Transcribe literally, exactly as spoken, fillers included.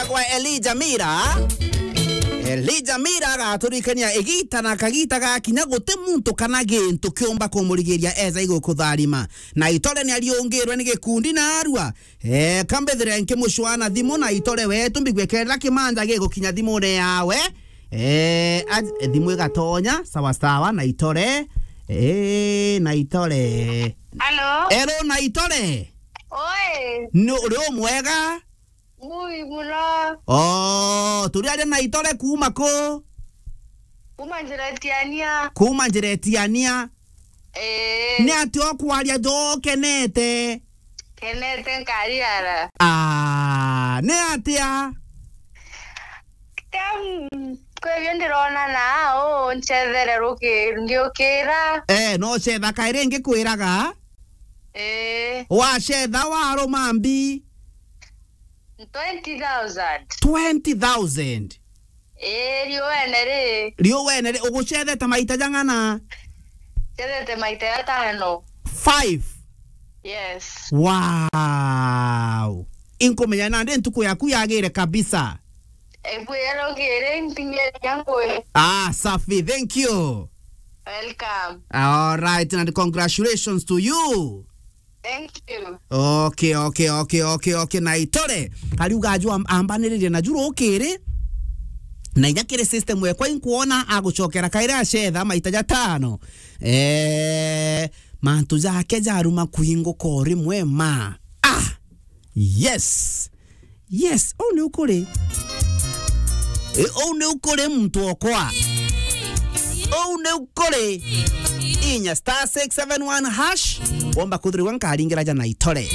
Kwa Elijah Mira. Elijah Mira agaturikania igita na kagita gakinya guti muntu kana gintu kiumba kumurigiria eza igukutharima. Na itore ni ariungirwe ni gikundi na arua. Eh, kambethire nkimucwana thimu na itore wetu mbigwe kenda kimanja gigukinya thimune yawe. Eh, aj-, thimu igatonya, sawa sawa, na itore. Eh, na itore. Hello? Hello, na itore. Oi. No, uri umwega? Mui muno. Oh, turi aria na itore kuuma ku? Kuuma njira itiania. Kuuma njira itiania. Eh. Ni atia ukwaria jo kenete? Kenete nkariara. Ah, ni atia? Tem, kwebio ndirona na u ncethere ruki-, ngiukira. Eh, no cetha kairi ngikwiraga? Eh. Wacetha waruma mbi? Twenty thousand. Twenty thousand? Ii, riu wene ri? Riu wene ri, ugucethete maita jang'ana? Cethete maita jatano. Five? Yes. Wow. Inkumenya nandi ntuku yaku yagire kabisa. Ebu yarogire ntinyeri yangu. Ah, safi, thank you. Welcome. All right, and congratulations to you. Thank you. Okay, okay, okay, okay, okay. Na itore. Kariuga aju am-, ambaniririe na juru ukiri. Na inya kiri system yekwa inkuona agucokera kairi acetha maita jatano. Eh, mantu jake jaruma kuinguka o rimwe ma. Ah! Yes. Yes, uu ni ukuri. E, uu ni ukuri muntu okwa. Uu ni ukuri. Inya star six seven one hash. Womba kuthirigwa nkaringira ja na itore.